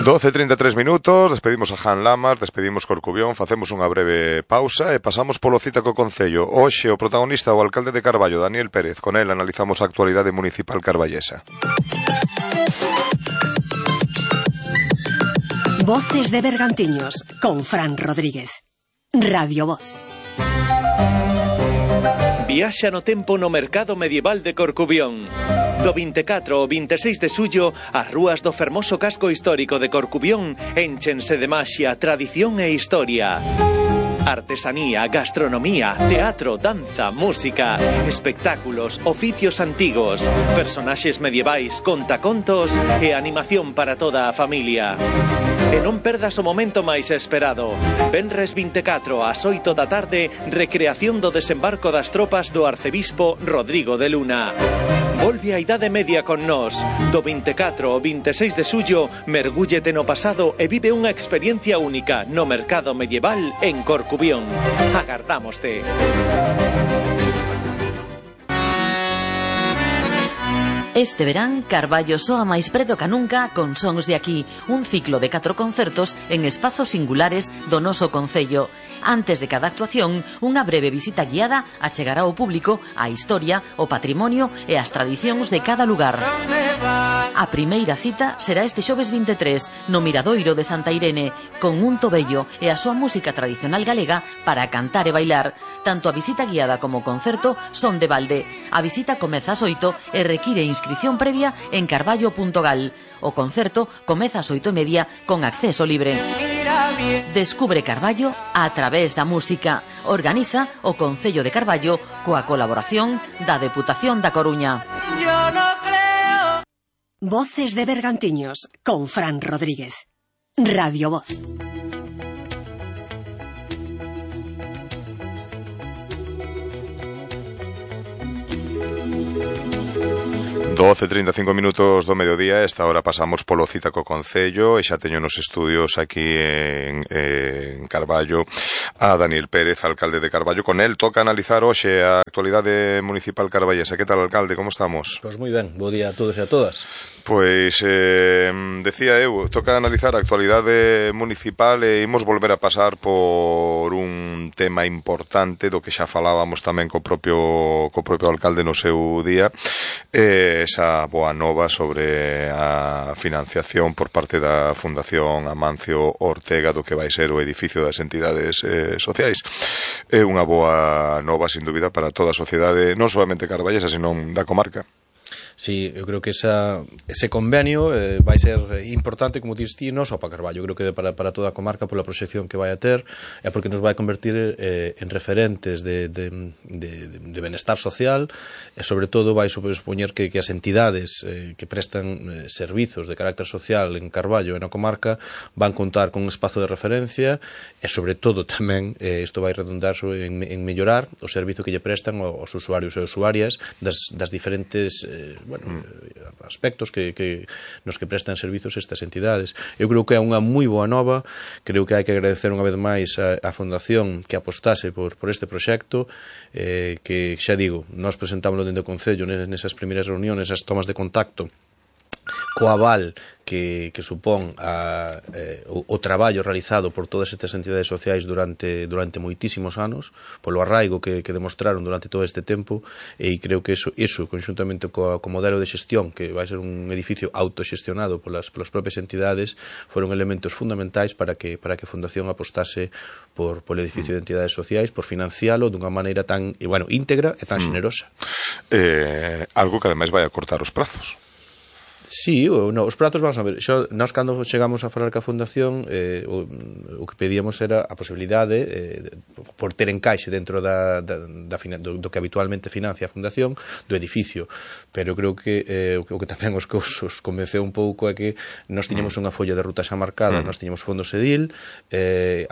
12:33 minutos, despedimos a Jan Lamas, despedimos Corcubión, facemos unha breve pausa e pasamos polo cita co Concello. Hoxe o protagonista o alcalde de Carballo, Daniel Pérez. Con el analizamos a actualidade municipal carballesa. Voces de Bergantiños, con Fran Rodríguez. Radio Voz. Viaxa no tempo no mercado medieval de Corcubión. Do 24 ao 26 de xullo, as rúas do fermoso casco histórico de Corcubión énchense de maxia, tradición e historia. Artesanía, gastronomía, teatro, danza, música, espectáculos, oficios antigos, personaxes medievais, contacontos e animación para toda a familia. E non perdas o momento máis esperado. Venres 24 ás 8 da tarde, recreación do desembarco das tropas do arcebispo Rodrigo de Luna. Volve a Idade Media con nós. Do 24 ao 26 de xullo, mergúllete no pasado e vive unha experiencia única no mercado medieval en Corcubión. Agardámoste. Este verán, Carballo soa máis preto ca nunca con Sons de Aquí, un ciclo de 4 concertos en espazos singulares do noso concello. Antes de cada actuación, unha breve visita guiada achegará ao público a historia, o patrimonio e as tradicións de cada lugar. A primeira cita será este xoves 23 no Miradoiro de Santa Irene, con un tobello e a súa música tradicional galega para cantar e bailar. Tanto a visita guiada como o concerto son de balde. A visita comeza ás 8 e require inscrición previa en carballo.gal. O concerto comeza ás 8:30 con acceso libre. Descubre Carballo a través da música. Organiza o Concello de Carballo coa colaboración da Deputación da Coruña. Voces de Bergantiños, con Fran Rodríguez. Radio Voz. $12:35 do mediodía. Esta hora pasamos polo cita co Concello e xa teño nos estudios aquí en Carballo a Daniel Pérez, alcalde de Carballo. Con el toca analizar hoxe a actualidade municipal carballesa. Que tal, alcalde? Como estamos? Pois moi ben, bo día a todos e a todas. Pois, decía eu, toca analizar a actualidade municipal e imos volver a pasar por un tema importante do que xa falábamos tamén co propio alcalde no seu día, esa boa nova sobre a financiación por parte da Fundación Amancio Ortega do que vai ser o edificio das entidades sociais. É unha boa nova, sin dúbida, para toda a sociedade, non solamente carballesa, senón da comarca. Sí, eu creo que ese convenio vai ser importante, como dís ti, non só para Carballo, creo que para toda a comarca pola proxección que vai a ter e porque nos vai convertir en referentes de benestar social e sobre todo vai supoñer que as entidades que prestan servizos de carácter social en Carballo e na comarca van contar con un espazo de referencia e sobre todo tamén isto vai redundar en mellorar o servizo que lle prestan aos usuarios e usuarias das diferentes aspectos nos que prestan servizos estas entidades. Eu creo que é unha moi boa nova, creo que hai que agradecer unha vez máis a Fundación que apostase por este proxecto, que xa digo, nós presentámoslo dentro do Concello nesas primeiras reuniones, as tomas de contacto co aval que supón o traballo realizado por todas estas entidades sociais durante moitísimos anos, polo arraigo que demostraron durante todo este tempo, e creo que eso conxuntamente co modelo de xestión, que vai ser un edificio autoxestionado polas propias entidades, foron elementos fundamentais para que a Fundación apostase polo edificio de entidades sociais, por financialo dunha maneira tan íntegra e tan xenerosa. Algo que ademais vai a cortar os prazos. Sí, os pratos, vamos a ver, nós cando chegamos a falar ca Fundación o que pedíamos era a posibilidade por ter encaixe dentro do que habitualmente financia a Fundación do edificio, pero creo que o que tamén os convenceu un pouco é que nós tiñamos unha folla de ruta xa marcada, nós tiñamos fondos edil,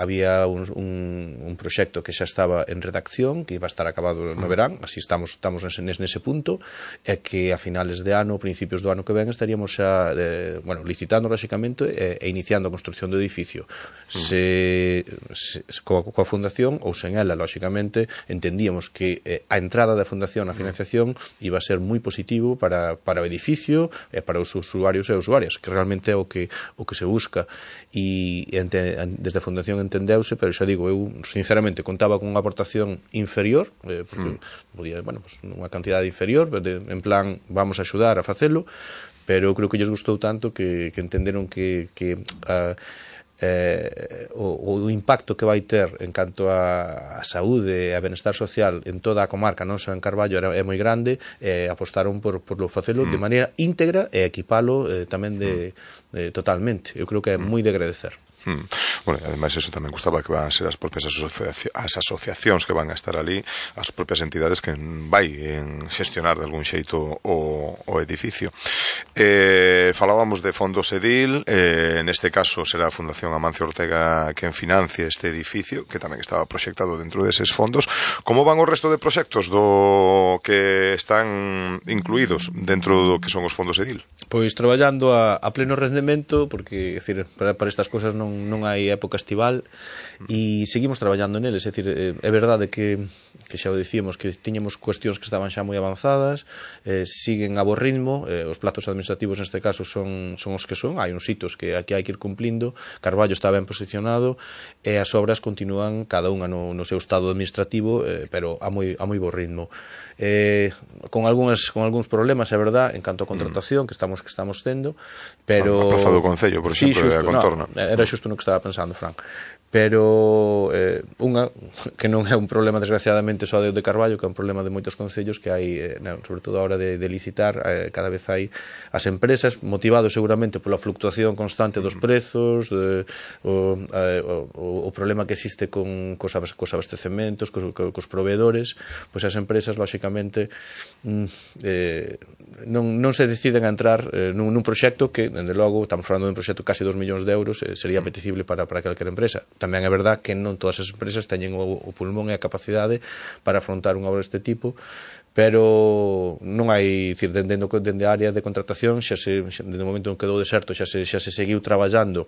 había un proxecto que xa estaba en redacción, que iba a estar acabado no verán, así estamos nese punto, e que a finales de ano, principios do ano que ven estaría estaríamos xa licitando lógicamente e iniciando a construción do edificio. Coa fundación ou sen ela, lógicamente, entendíamos que a entrada da fundación na financiación iba a ser moi positivo para o edificio e para os usuarios e usuarias, que realmente é o que se busca, e desde a fundación entendeuse, pero xa digo, eu sinceramente contaba con unha aportación inferior, porque podía, unha cantidade inferior, en plan, vamos a axudar a facelo, pero eu creo que lles gustou tanto que entenderon que o impacto que vai ter en canto a saúde e a benestar social en toda a comarca, non só en Carballo, é moi grande, apostaron por facelo de maneira íntegra e equipalo tamén totalmente. Eu creo que é moi de agradecer. Bueno, ademais eso tamén gustaba que van a ser as propias as asociacións que van a estar ali, as propias entidades que vai xestionar de algún xeito o edificio. Falábamos de fondos edil, neste caso será a Fundación Amancio Ortega quen financie este edificio, que tamén estaba proxectado dentro deses fondos. Como van o resto de proxectos do que están incluídos dentro do que son os fondos edil? Pois traballando a pleno rendemento, porque para estas cosas non hai época estival, e seguimos traballando neles. É dicir, é verdade que xa o dicíamos, que tiñamos cuestións que estaban xa moi avanzadas, siguen a bo ritmo, os plazos administrativos neste caso son os que son, hai uns hitos que aquí hai que ir cumplindo, Carballo está ben posicionado e as obras continúan cada unha no seu estado administrativo, pero a moi bo ritmo. Con algúns problemas, é verdad, en canto a contratación que estamos tendo, pero a Praza do Concello, por exemplo, e a contorna. Era xusto no que estaba pensando, Fran. Pero unha que non é un problema desgraciadamente só de Carballo, que é un problema de moitos concellos, que hai, sobre todo a hora de licitar, cada vez hai as empresas, motivados seguramente pola fluctuación constante dos prezos, o problema que existe cos abastecementos, cos proveedores, pois as empresas lógicamente non se deciden a entrar nun proxecto que, dende logo, estamos falando dun proxecto casi 2 millóns de euros, sería apetecible para calquera empresa. Tamén é verdad que non todas as empresas teñen o pulmón e a capacidade para afrontar unha obra deste tipo, pero non hai, dicir, dende a área de contratación, dende o momento en que quedou deserto, xa se seguiu traballando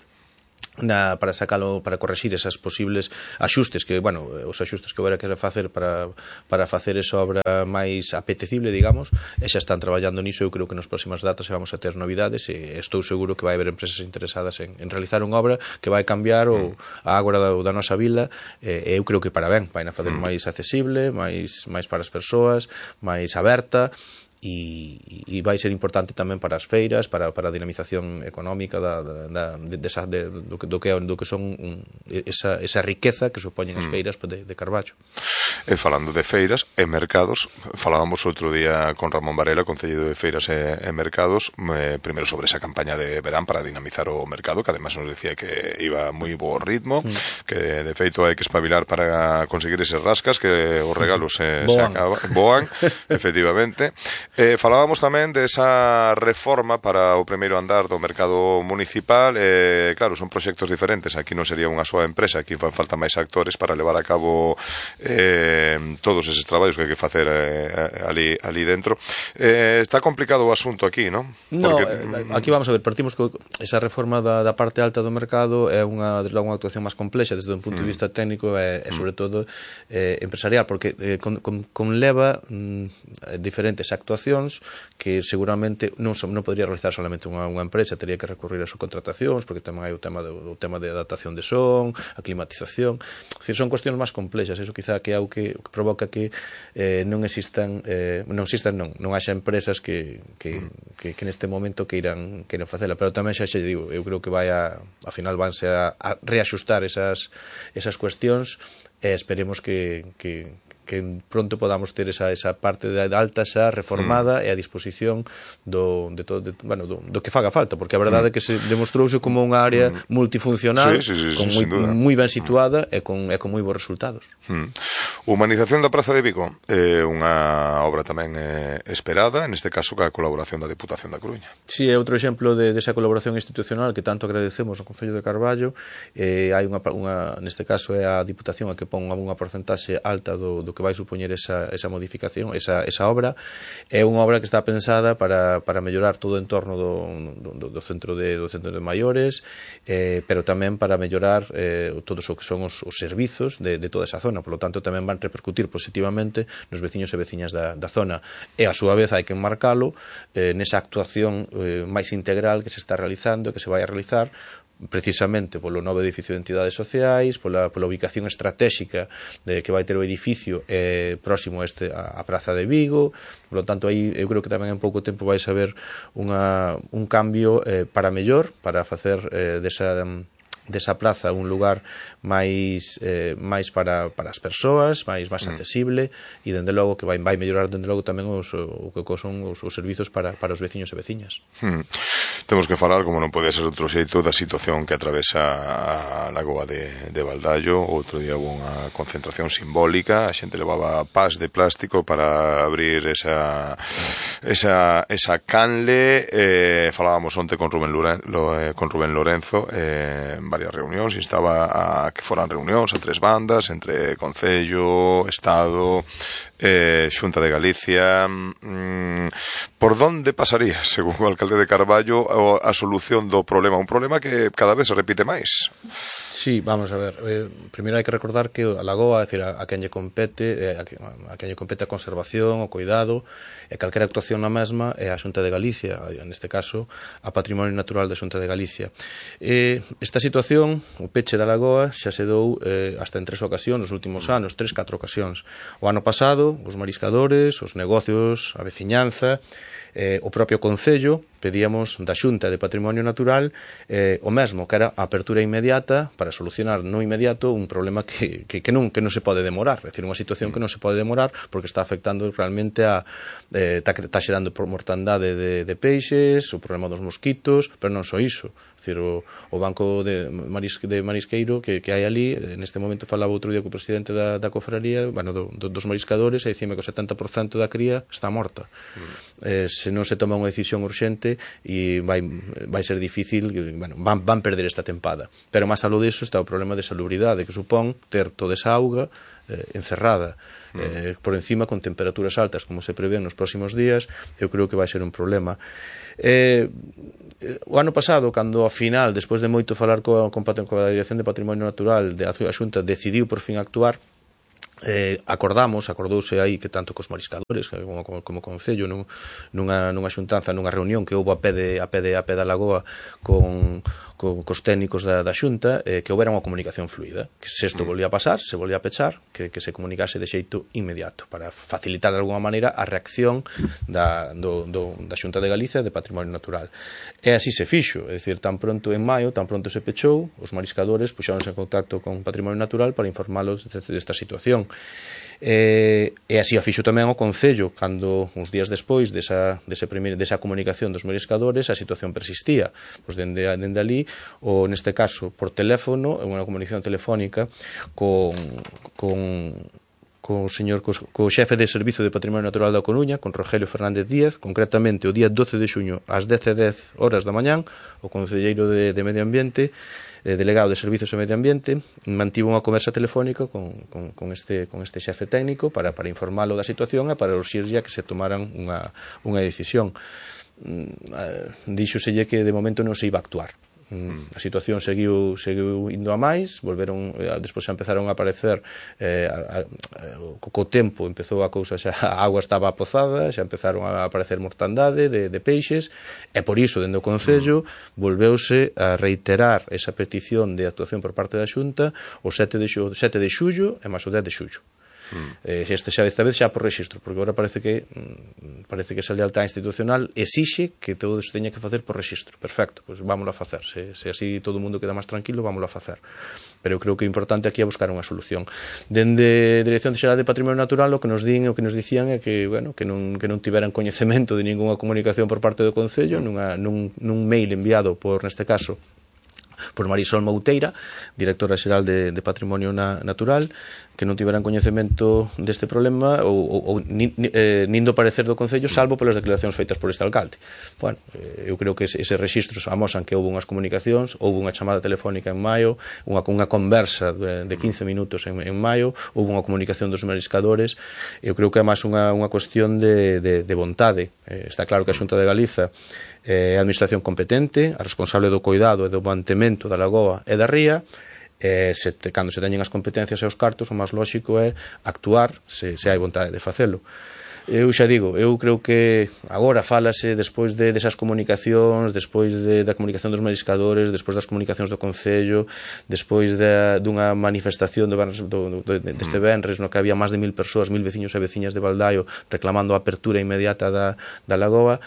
para sacalo, para correxir esas posibles axustes que, os axustes que houbera que facer para facer esa obra máis apetecible, digamos, e xa están traballando niso. Eu creo que nas próximas datas vamos a ter novidades e estou seguro que vai haber empresas interesadas en realizar unha obra que vai cambiar a agora da nosa vila, e eu creo que para ben, vai a facer máis accesible, máis para as persoas, máis aberta, e vai ser importante tamén para as feiras, para a dinamización económica do que son esa riqueza que supoñen as feiras de Carballo. E falando de feiras e mercados, falábamos outro día con Ramón Varela, concelleiro de Feiras e Mercados, primeiro sobre esa campaña de verán para dinamizar o mercado, que además nos decía que iba moi bo ritmo, que de feito hai que espabilar para conseguir eses rascas, que os regalos se boan, efectivamente. Falábamos tamén de esa reforma para o primeiro andar do mercado municipal. Claro, son proxectos diferentes, aquí non sería unha soa empresa, aquí fan falta máis actores para levar a cabo todos eses traballos que hai que facer ali dentro. Está complicado o asunto aquí, non? Aquí vamos a ver, partimos que esa reforma da parte alta do mercado é unha actuación máis complexa desde un punto de vista técnico e sobre todo empresarial, porque conleva diferentes actuacións que seguramente non podría realizar solamente unha empresa, teria que recurrir a subcontratacións, porque tamén hai o tema de adaptación de son, a climatización. É dicir, son cuestións máis complexas, eso quizá que é o que provoca que non haxa empresas que neste momento queiran facela, pero tamén xa digo, eu creo que ao final vanse a reaxustar esas cuestións, e esperemos que pronto podamos ter esa parte de alta xa reformada e a disposición do que faga falta, porque a verdade é que se demostrouse como unha área multifuncional, moi ben situada e con moi bons resultados. Humanización da Praza de Vigo é unha obra tamén esperada, neste caso ca colaboración da Deputación da Coruña. Si, é outro exemplo desa colaboración institucional que tanto agradecemos ao Concello de Carballo. Hai neste caso é a Diputación a que pon unha porcentaxe alta do que vai supoñer esa modificación, esa obra. É unha obra que está pensada para mellorar todo o entorno do centro de maiores, pero tamén para mellorar todos o que son os servizos de toda esa zona. Por lo tanto, tamén van repercutir positivamente nos veciños e veciñas da zona. E, a súa vez, hai que enmarcalo nesa actuación máis integral que se está realizando, que se vai a realizar precisamente polo novo edificio de entidades sociais, pola ubicación estratégica que vai ter o edificio próximo a Praza de Vigo. Por lo tanto, aí eu creo que tamén en pouco tempo vais a ver un cambio para mellor, para facer desa plaza un lugar máis para as persoas, máis accesible, e dende logo que vai mellorar dende logo tamén o que son os servizos para os veciños e veciñas. Temos que falar, como non pode ser outro xeito, da situación que atravesa a lagoa de Valdallo. Outro día houve unha concentración simbólica, a xente levaba pas de plástico para abrir esa canle. Falábamos onte con Rubén Lorenzo, varias reunións, instaba a que foran reunións a tres bandas entre Concello, Estado, Xunta de Galicia. Por donde pasaría, según o alcalde de Carballo, a solución do problema? Un problema que cada vez se repite máis. Sí, vamos a ver. Primeiro hai que recordar que a lagoa, é dicir, a quen lle compete a conservación, o cuidado, e calquera actuación na mesma é a Xunta de Galicia, neste caso a Patrimonio Natural da Xunta de Galicia. Esta situación, o peche da lagoa, xa se dou hasta en 3 ocasións nos últimos anos, 3-4 ocasións. O ano pasado, os mariscadores, os negocios, a veciñanza, o propio Concello, pedíamos da Xunta de Patrimonio Natural o mesmo, que era a apertura inmediata para solucionar no inmediato un problema que non se pode demorar, é dicir, unha situación que non se pode demorar porque está afectando realmente está xerando mortandade de peixes, o problema dos mosquitos, pero non só iso. É dicir, o banco de marisqueiro que hai ali, neste momento falaba outro día co presidente da cofraría, dos mariscadores, e dicime que o 70% da cría está morta. Se non se toma unha decisión urxente, e vai ser difícil, van perder esta tempada. Pero máis aló disso está o problema de salubridade que supón ter toda esa auga encerrada por encima con temperaturas altas como se prevé nos próximos días. Eu creo que vai ser un problema. O ano pasado, cando ao final, despois de moito falar coa Dirección de Patrimonio Natural, a Xunta decidiu por fin actuar, acordouse aí que tanto cos mariscadores como Concello nunha xuntanza, nunha reunión que houve a pé da lagoa cos técnicos da Xunta, que houbera unha comunicación fluida, que se isto volvía a pasar, se volvía a pechar, que se comunicase de xeito inmediato para facilitar de alguma maneira a reacción da Xunta de Galicia de Patrimonio Natural. E así se fixo, é dicir, tan pronto en maio, tan pronto se pechou, os mariscadores puxáronse en contacto con Patrimonio Natural para informalos desta situación. E así a fixo tamén o Concello, cando uns días despois desa comunicación dos mariscadores a situación persistía. Pois dende ali, neste caso por teléfono, unha comunicación telefónica co xefe de Servizo de Patrimonio Natural da Coruña, con Rogelio Fernández Díaz, concretamente o día 12 de xuño ás 10:10 horas da mañán, o concelleiro de Medio Ambiente, delegado de Servizos e Medio Ambiente, mantivo unha conversa telefónica con este xefe técnico para informálo da situación e para urxirlle a que se tomaran unha decisión. Díxoselle que de momento non se iba a actuar. A situación seguiu indo a máis, despois xa empezaron a aparecer co tempo empezou a cousa, xa a agua estaba apozada, xa empezaron a aparecer mortandade de peixes, e por iso dende o Concello volveuse a reiterar esa petición de actuación por parte da Xunta o 7 de xullo e máis o 10 de xullo. Esta vez xa por rexistro, porque agora parece que esa lealtad institucional exixe que todo iso teña que facer por rexistro. Perfecto, pois vámoslo a facer, se así todo o mundo queda máis tranquilo, vámoslo a facer. Pero eu creo que o importante aquí é buscar unha solución. Dende a Dirección Xeral de Patrimonio Natural o que nos dicían é que non tiveran coñecemento de ningunha comunicación por parte do Concello, nun mail enviado neste caso por Marisol Mouteira, directora xeral de Patrimonio Natural, que non tiveran coñecemento deste problema ou nin do parecer do Concello, salvo polas declaracións feitas por este alcalde. Bueno, eu creo que eses registros amosan que houve unhas comunicacións, houve unha chamada telefónica en maio, unha conversa de 15 minutos en maio, houve unha comunicación dos mariscadores. Eu creo que é máis unha cuestión de vontade. Está claro que a Xunta de Galiza é a administración competente, a responsable do cuidado e do mantemento da lagoa e da ría. Cando se teñen as competencias e os cartos, o máis lóxico é actuar se hai vontade de facelo. Eu xa digo, eu creo que agora fálase despois desas comunicacións, despois da comunicación dos mariscadores, despois das comunicacións do Concello, despois dunha manifestación deste venres no que había máis de 1000 persoas, 1000 veciños e veciñas de Baldaio reclamando a apertura inmediata da lagoa.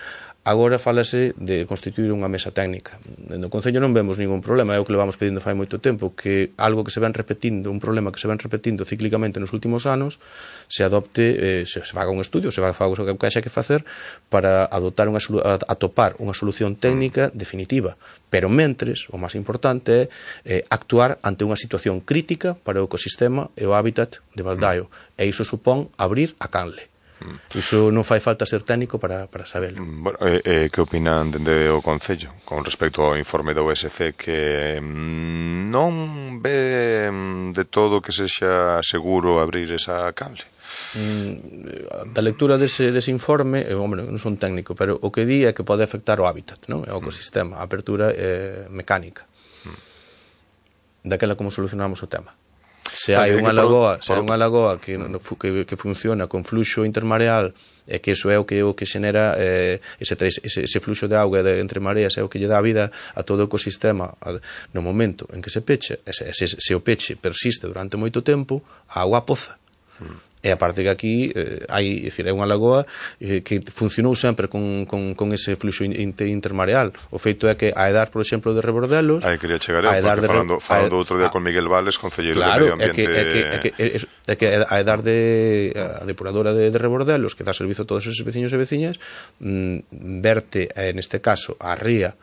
Agora fálase de constituir unha mesa técnica. No Concello non vemos ningún problema, é o que levamos pedindo fai moito tempo, que algo que se ven repetindo, un problema que se ven repetindo cíclicamente nos últimos anos, se adopte, se faga un estudio, se faga o que haxa que facer para adoptar atopar unha solución técnica definitiva. Pero mentres, o máis importante é actuar ante unha situación crítica para o ecosistema e o hábitat de Baldaio. E iso supón abrir a canle. Iso non fai falta ser técnico para sabelo. Bueno, que opinan dende o Concello con respecto ao informe da OSC, que non ve de todo que sexa seguro abrir esa canle? Da lectura dese informe, non son técnico, pero o que di é que pode afectar o hábitat, non? O ecosistema, a apertura mecánica. Daquela como solucionamos o tema. Se hai unha lagoa que funciona con fluxo intermareal, e que iso é o que xenera ese fluxo de auga entre mareas, é o que lle dá vida a todo o ecosistema. No momento en que se peche, se o peche persiste durante moito tempo, a auga poza. E aparte que aquí é unha lagoa que funcionou sempre con ese fluxo intermareal. O feito é que a edar, por exemplo, de Rebordelos... quería chegar porque falando outro día con Miguel Vales, concelleiro de Medio Ambiente... É que a edar a depuradora de Rebordelos, que dá servizo a todos esos veciños e veciñas, verte, neste caso, a ría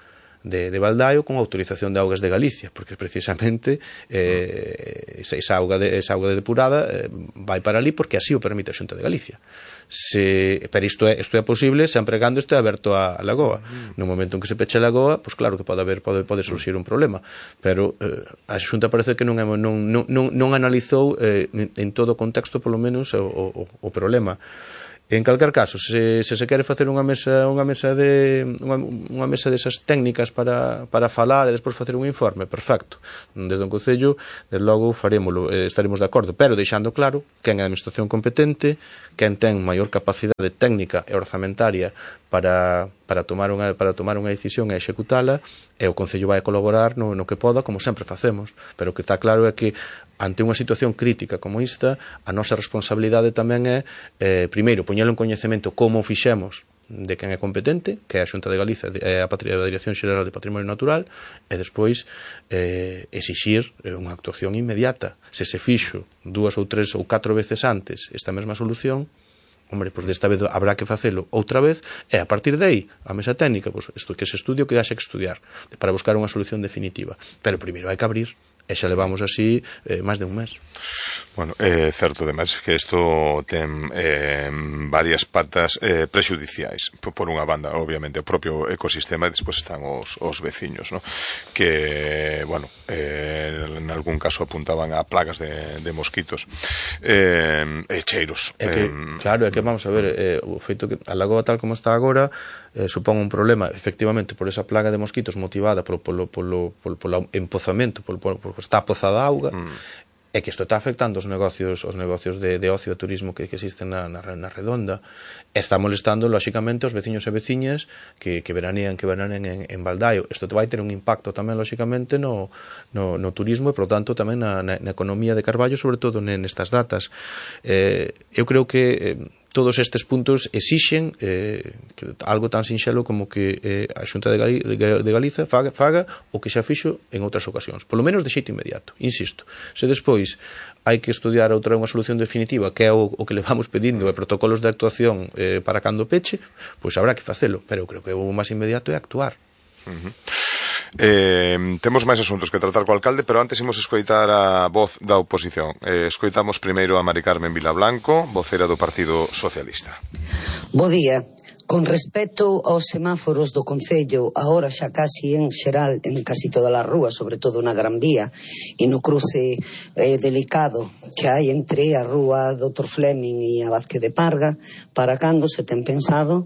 de Baldaio con autorización de augas de Galicia, porque precisamente esa auga de depurada vai para ali porque así o permite a Xunta de Galicia. Pero isto é posible sempre cando este aberto a lagoa. No momento en que se peche a lagoa, pois claro que pode surxir un problema, pero a Xunta parece que non analizou en todo o contexto, polo menos, o problema. En calquer caso, se quere facer unha mesa desas técnicas para falar e despois facer un informe, perfecto. Desde o Concello, desde logo, farémolo, estaremos de acordo, pero deixando claro quen é a administración competente, quen ten maior capacidade técnica e orzamentaria para tomar unha decisión e executala, e o Concello vai colaborar no que poda, como sempre facemos. Pero o que está claro é que ante unha situación crítica como esta, a nosa responsabilidade tamén é, primeiro, poñelo en coñecemento como fixemos de quen é competente, que é a Xunta de Galiza e a Dirección Xeral de Patrimonio Natural, e despois exixir unha actuación inmediata. Se se fixo 2 ou 3 ou 4 veces antes esta mesma solución, pois desta vez habrá que facelo outra vez, e a partir de aí, a mesa técnica, pois que se estudie o que haxa que estudiar para buscar unha solución definitiva. Pero primeiro hai que abrir, e xa levamos así máis de un mes. Bueno, é certo, ademais, que isto ten varias patas prexudiciais. Por unha banda, obviamente, o propio ecosistema, e despois están os veciños, ¿no? Que, bueno, en algún caso apuntaban a plagas de mosquitos e cheiros. Claro, é que vamos a ver, o feito que a lagoa tal como está agora supón un problema, efectivamente, por esa plaga de mosquitos motivada polo empozamento, porque está pozada a auga, é que isto está afectando os negocios de ocio e turismo que existen na redonda. Está molestando, lóxicamente, os veciños e veciñas que veranean en Baldaio. Isto vai ter un impacto tamén, lóxicamente, no turismo e, por tanto, tamén na economía de Carballo, sobre todo nestas datas. Eu creo que todos estes puntos exixen algo tan sinxelo como que a Xunta de Galiza faga o que xa fixo en outras ocasións, polo menos de xeito inmediato, insisto. Se despois hai que estudiar unha solución definitiva, que é o que le vamos pedindo, e protocolos de actuación para cando peche, pois habrá que facelo, pero eu creo que o máis inmediato é actuar. Temos máis asuntos que tratar co alcalde, pero antes imos escoitar a voz da oposición. Escoitamos primeiro a Mari Carmen Vilablanco, vocera do Partido Socialista. Bo día. Con respecto aos semáforos do Concello, agora xa casi en xeral, en casi todas as rúas, sobre todo na Gran Vía, e no cruce delicado que hai entre a rúa Dr. Fleming e a Vázquez de Parga, para cando se ten pensado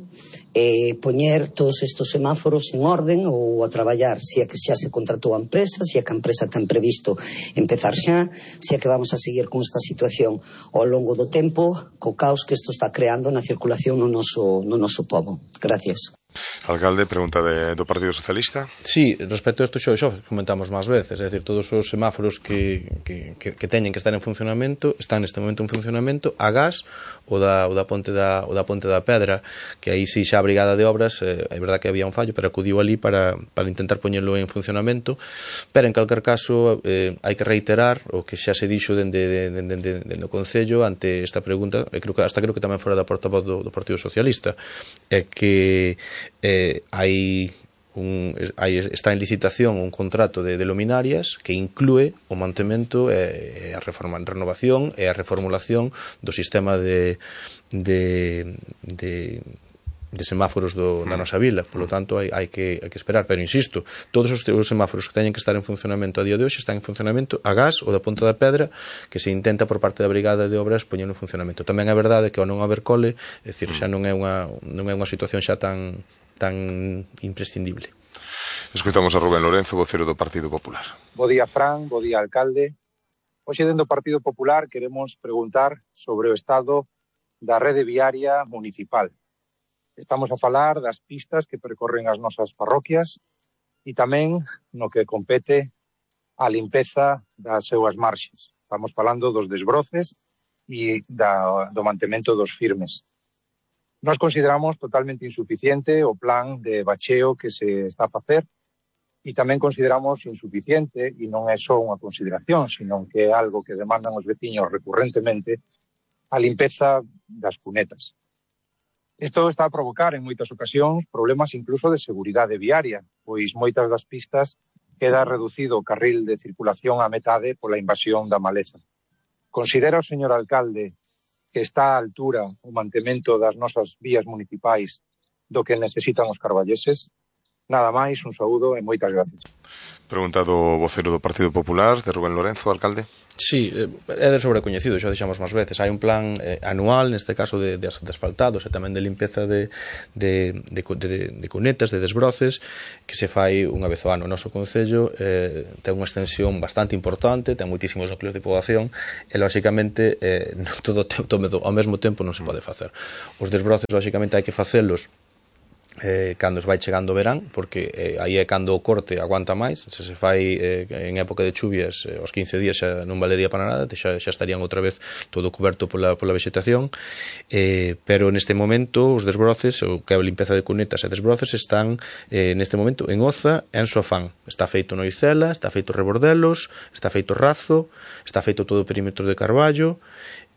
poñer todos estes semáforos en orden ou a traballar, se é que xa se contratou a empresa, se é que a empresa ten previsto empezar xa, se é que vamos a seguir con esta situación ao longo do tempo, co caos que isto está creando na circulación no noso pobo. Gracias. Alcalde, pregunta do Partido Socialista. Sí, respecto a isto xa comentamos máis veces, é dicir, todos os semáforos que teñen que estar en funcionamento están neste momento en funcionamento a gas o da Ponte da Pedra, que aí si xa a Brigada de Obras, é verdad que había un fallo, pero acudiu ali para intentar poñerlo en funcionamento, pero en calquer caso hai que reiterar o que xa se dixo dende o Concello ante esta pregunta, creo que tamén fora da portavoz do Partido Socialista, é que está en licitación un contrato de luminarias que inclúe o mantemento e a renovación e a reformulación do sistema de semáforos da nosa vila, polo tanto hai que esperar, pero insisto, todos os semáforos que teñen que estar en funcionamento a día de hoxe están en funcionamento a gas ou da Ponte da Pedra, que se intenta por parte da Brigada de Obras poñer en funcionamento. Tamén é verdade que ao non haber cole, é dicir, xa non é unha situación xa tan imprescindible. Escoitamos a Rubén Lorenzo, vocero do Partido Popular. Bo día, Fran, bo día, alcalde. Hoxe, dentro do Partido Popular, queremos preguntar sobre o estado da rede viaria municipal. Estamos a falar das pistas que percorren as nosas parroquias e tamén no que compete a limpeza das súas marxes. Estamos falando dos desbroces e do mantemento dos firmes. Nós consideramos totalmente insuficiente o plan de bacheo que se está a facer e tamén consideramos insuficiente, e non é só unha consideración, sino que é algo que demandan os veciños recurrentemente, a limpeza das cunetas. Isto está a provocar en moitas ocasións problemas incluso de seguridade viaria, pois moitas das pistas queda reducido o carril de circulación a metade pola invasión da maleza. Considera o señor alcalde que está á altura o mantemento das nosas vías municipais do que necesitan os carballeses? Nada máis, un saúdo e moitas gracias. Pregunta do vocero do Partido Popular, de Rubén Lorenzo, alcalde. Sí, é de sobrecoñecido, xa dixamos máis veces. Hai un plan anual, neste caso de asfaltados e tamén de limpeza de cunetas, de desbroces, que se fai unha vez ao ano. O noso Concello ten unha extensión bastante importante, ten moitísimos núcleos de poboación e, lóxicamente, todo ao mesmo tempo non se pode facer. Os desbroces, lóxicamente, hai que facelos cando vai chegando o verán, porque aí é cando o corte aguanta máis. Se fai en época de chuvias, os 15 días xa non valería para nada, xa estarían outra vez todo coberto pola vegetación, pero neste momento os desbroces, o que é a limpeza de cunetas e desbroces, están neste momento en Oza e en Sofán. Está feito Noicela, está feito Rebordelos, está feito Razo, está feito todo o perímetro de Carballo,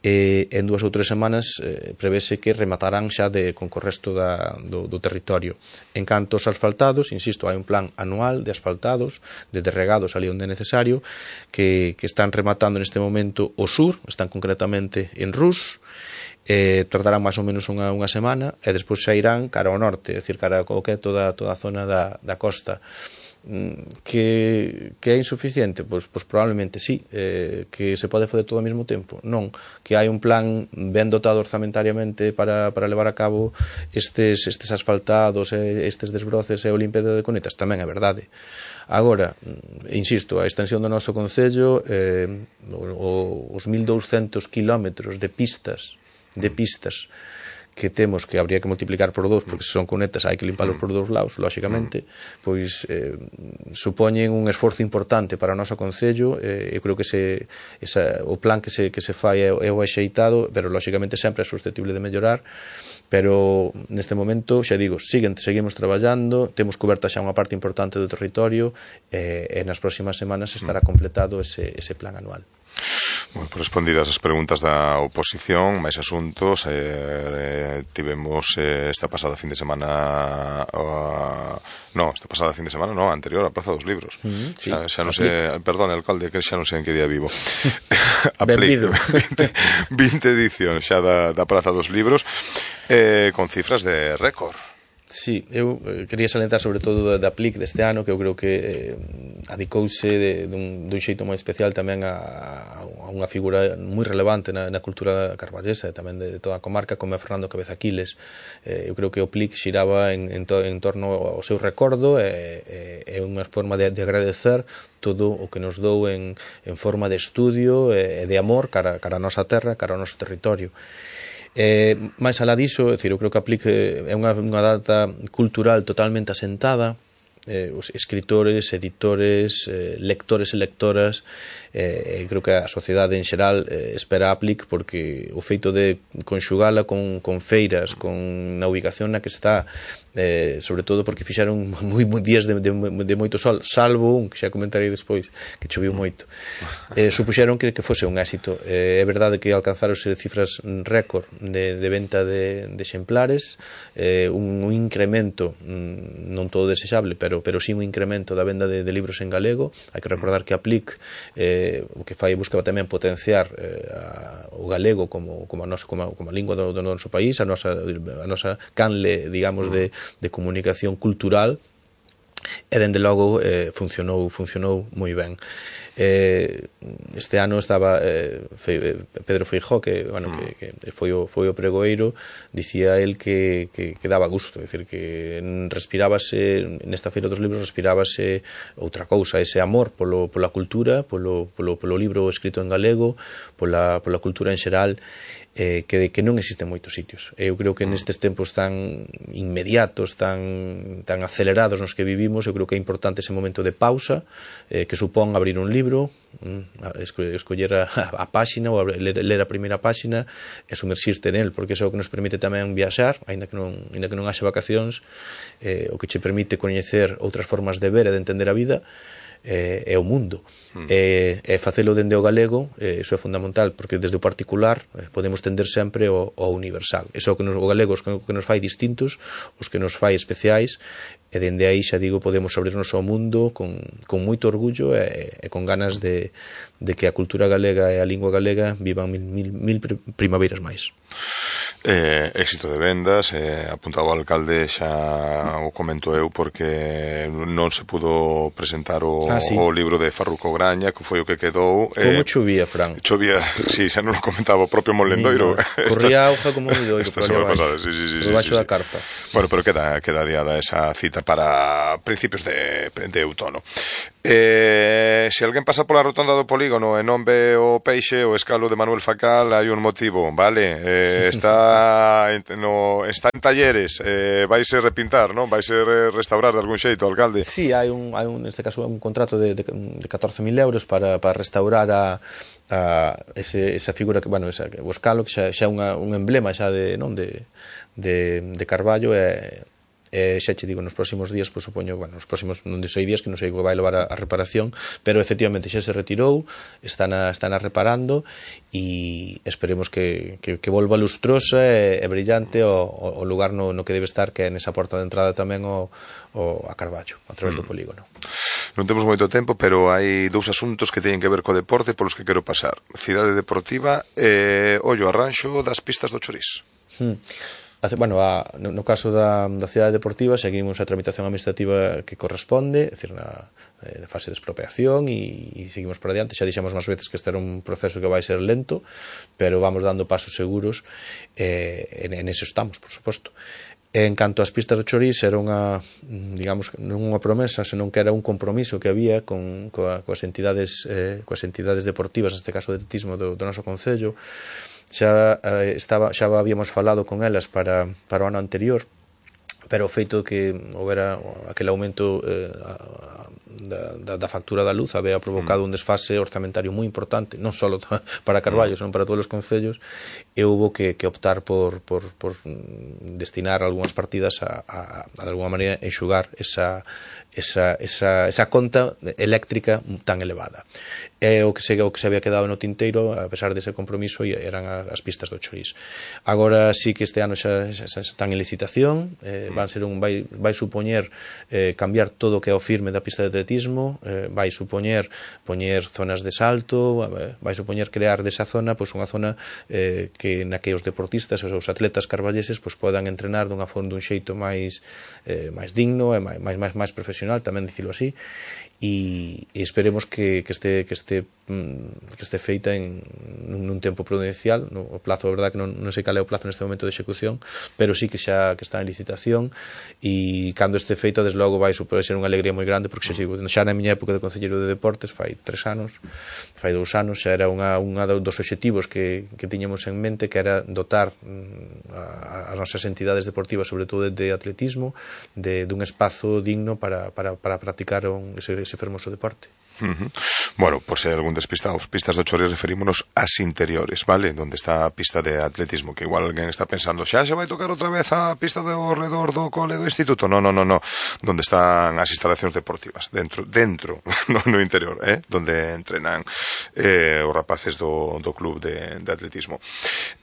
en 2 ou 3 semanas prevese que rematarán xa con o resto do territorio. En canto aos asfaltados, insisto, hai un plan anual de asfaltados, de regados ali onde é necesario, que están rematando neste momento o sur, están concretamente en Rus, tardarán máis ou menos unha semana, e despois xa irán cara ao norte, é dicir, cara ao que é toda a zona da costa. Que é insuficiente? Pois probablemente sí. Que se pode fazer todo ao mesmo tempo? Non. Que hai un plan ben dotado orzamentariamente para levar a cabo estes asfaltados, estes desbroces e o limpeza de cunetas? Tamén é verdade. Agora, insisto, a extensión do noso Concello, os 1.200 kilómetros de pistas que temos, que habría que multiplicar por 2, porque se son cunetas hai que limparlos por 2 lados, lóxicamente, pois supoñen un esforzo importante para o noso Concello. Eu creo que o plan que se fai é o axeitado, pero lóxicamente sempre é susceptible de mellorar. Pero neste momento, xa digo, seguimos traballando, temos coberta xa unha parte importante do territorio, e nas próximas semanas estará completado ese plan anual. Bueno, respondidas as preguntas da oposición, máis asuntos, tivemos esta pasada fin de semana anterior a Praza dos Libros. Sí, xa non sei, perdón, alcalde, que xa non sei en que día vivo. Benvido. 20 edicións xa da Praza dos Libros, con cifras de récord. Sí, eu quería salientar sobre todo da Aplic deste ano, que eu creo que adicouse dun xeito moi especial tamén a unha figura moi relevante na cultura carballesa e tamén de toda a comarca, como é Fernando Cabeza Aquiles. Eu creo que o Aplic xiraba en torno ao seu recordo e unha forma de agradecer todo o que nos dou en forma de estudio e de amor cara a nosa terra, cara ao noso territorio. Máis alá diso, eu creo que a Aplic é unha data cultural totalmente asentada. Os escritores, editores, lectores e lectoras, creo que a sociedade en xeral espera a Aplic, porque o feito de conxugala con feiras, na ubicación na que está, sobre todo porque fixeron moi días de moito sol, salvo un que xa comentarei despois, que choviu moito, supuxeron que fose un éxito. É verdade que alcanzaronse cifras récord de venta de exemplares, un incremento non todo desexable, pero sí un incremento da venda de libros en galego. Hai que recordar que a Aplic o que fai buscaba tamén potenciar o galego como a lingua do noso país, a nosa canle, digamos, de comunicación cultural, e dende logo funcionou moi ben. Este ano estaba Pedro Feijóo, que foi o pregoeiro, dicía el que daba gusto, é dicir, que respirábase nesta Feira dos Libros, respirábase outra cousa, ese amor pola cultura, polo libro escrito en galego, pola cultura en xeral, que non existen moitos sitios. Eu creo que nestes tempos tan inmediatos, tan acelerados nos que vivimos, eu creo que é importante ese momento de pausa, que supón abrir un libro, escoller a páxina ou ler a primeira páxina e sumerxirte nel, porque é o que nos permite tamén viaxar, aínda que non haxe vacacións, o que che permite coñecer outras formas de ver e de entender a vida é o mundo, e facelo dende o galego, iso é fundamental, porque desde o particular podemos tender sempre ao universal. Iso é o galego, o que nos fai distintos, os que nos fai especiais, e dende aí, xa digo, podemos abrirnos ao mundo con moito orgullo e con ganas de que a cultura galega e a lingua galega vivan mil primaveras máis. Éxito de vendas, apuntaba o alcalde, xa o comento eu, porque non se pudo presentar o libro de Farruco Graña, que foi o que quedou. Como chovía, Fran? Chovía, sí, xa non o comentaba o propio Molendoiro. Corría auga como Molendoiro, por baixo da carpa. Bueno, pero queda adiada esa cita para principios de outono. Se alguén pasa pola rotonda do polígono e non ve o peixe, o escalo de Manuel Facal, hai un motivo, vale? Está en talleres, vaise repintar, non? Vaise restaurar de algún xeito, alcalde? Sí, hai neste caso un contrato de 14.000 euros para restaurar esa figura, o escalo, que xa é un emblema xa de Carballo, xa che digo, nos próximos días, pois supoño, nos próximos, non sei días, que non sei que vai levar a reparación, pero efectivamente xa se retirou, están reparando, e esperemos que volva lustrosa e brillante o lugar no que debe estar, que é nesa porta de entrada tamén a Carballo, a través do polígono. Non temos moito tempo, pero hai dous asuntos que teñen que ver co deporte polos que quero pasar. Cidade Deportiva e ollo arranxo das pistas do Chorís. No caso da Cidade Deportiva, seguimos a tramitación administrativa que corresponde, é dicir, na fase de expropiación, e seguimos por adiante. Xa dixemos máis veces que este era un proceso que vai ser lento, pero vamos dando pasos seguros, en eso estamos, por suposto. En canto ás pistas do Chorís, era unha, digamos, non unha promesa, senón que era un compromiso que había coas entidades deportivas, neste caso de atletismo do noso concello. Xa habíamos falado con elas para o ano anterior, pero o feito que houbera aquel aumento factura da luz había provocado un desfase orzamentario moi importante, non só para Carballo, senón para todos os concellos, e houve que optar por destinar algunhas partidas a de alguma maneira enxugar esa conta eléctrica tan elevada. O que se había quedado no tinteiro, a pesar dese compromiso, eran as pistas do Chorís. Agora sí que este ano xa están en licitación, vai supoñer cambiar todo o que é o firme da pista de atletismo, vai supoñer poñer zonas de salto, vai supoñer crear desa zona unha zona na que os deportistas, os atletas carballeses podan entrenar dun xeito máis digno e máis profesional, tamén dicilo así, e esperemos que este feita nun tempo prudencial. O plazo, a verdade que non sei cal é o plazo neste momento de execución, pero sí que xa que está en licitación, e cando este feita, desde logo, vai ser unha alegría moi grande, porque xa na miña época de concelleiro de deportes, fai 2 anos, xa era unha dos obxectivos que tiñamos en mente, que era dotar as nosas entidades deportivas, sobre todo de atletismo, dun espazo digno para practicar ese fermoso deporte. Bueno, por se hai algún despistado, pistas do Chorís referímonos ás interiores, vale? Donde está a pista de atletismo, que igual alguén está pensando, xa se vai tocar outra vez a pista do redor do cole do instituto. No. Donde están as instalacións deportivas, dentro no interior, donde entrenan os rapaces do club de atletismo.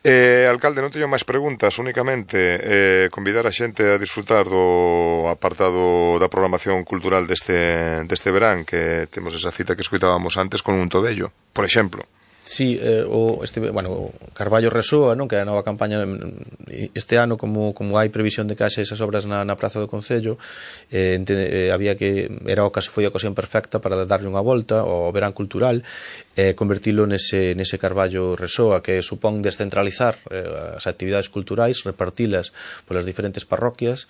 Alcalde, non teño máis preguntas, únicamente convidar a xente a disfrutar do apartado da programación cultural deste verán, que temos esa cita que escoitábamos antes con un Tobello, por exemplo. Sí, Carballo Resoa, non, que é a nova campaña este ano, como hai previsión de que haxe esas obras na Praza do Concello, foi a ocasión perfecta para darlle unha volta ao verán cultural, convertilo nese Carballo Resoa, que supón descentralizar as actividades culturais, repartilas polas diferentes parroquias,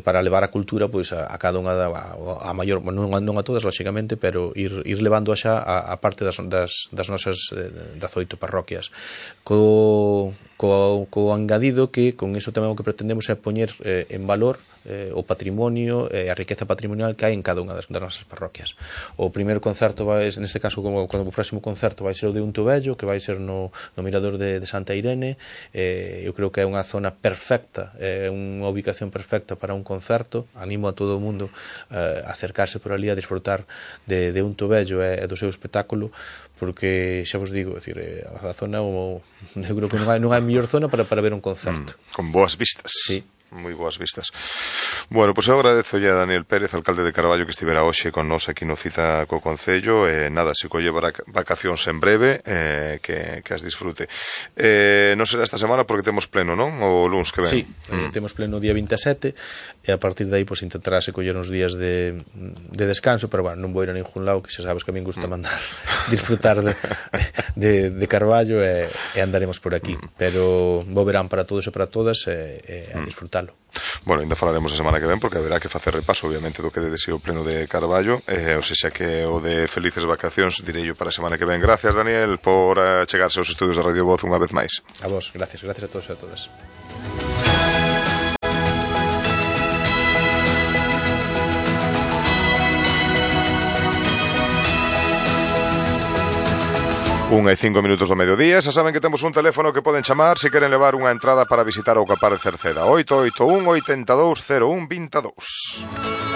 para levar a cultura a cada unha a maior, non a todas, lóxicamente, pero ir levando xa a parte das nosas 18 parroquias, co engadido que con iso tamén o que pretendemos é poñer en valor o patrimonio e a riqueza patrimonial que hai en cada unha das nosas parroquias. O primeiro concerto neste caso, como o próximo concerto vai ser o de un Tobello, que vai ser no mirador de Santa Irene. Eu creo que é unha zona perfecta, unha ubicación perfecta para un concerto. Animo a todo o mundo a acercarse por ali a disfrutar de un Tobello e do seu espectáculo, porque xa vos digo, a zona, eu creo que non hai mellor zona para ver un concerto. Con boas vistas. Sí. Moi boas vistas. Bueno, pois eu agradezo a Daniel Pérez, alcalde de Carballo, que estivera hoxe con nos aquí no Cita co Concello. Nada, se colle vacacións en breve, que as disfrute. Non será esta semana porque temos pleno, non? O luns que ven. Sí, temos pleno o día 27, e a partir de aí intentarase coller uns días de descanso, pero non vou ir a ningún lado, que xa sabes que a min gusta mandar disfrutar de Carballo, e andaremos por aquí. Pero bo verán para todos e para todas, e a disfrutar. Bueno, ainda falaremos a semana que ven, porque haberá que facer repaso, obviamente, do que de deseo pleno de Carballo, ou sexa que o de felices vacacións direi para a semana que ven. Gracias, Daniel, por chegarse aos estudios da Radio Voz unha vez máis. A vos, gracias a todos e a todas. 1:05 do mediodía. Xa saben que temos un teléfono que poden chamar se queren levar unha entrada para visitar o Capar de Cerceda. 881 82 01 22.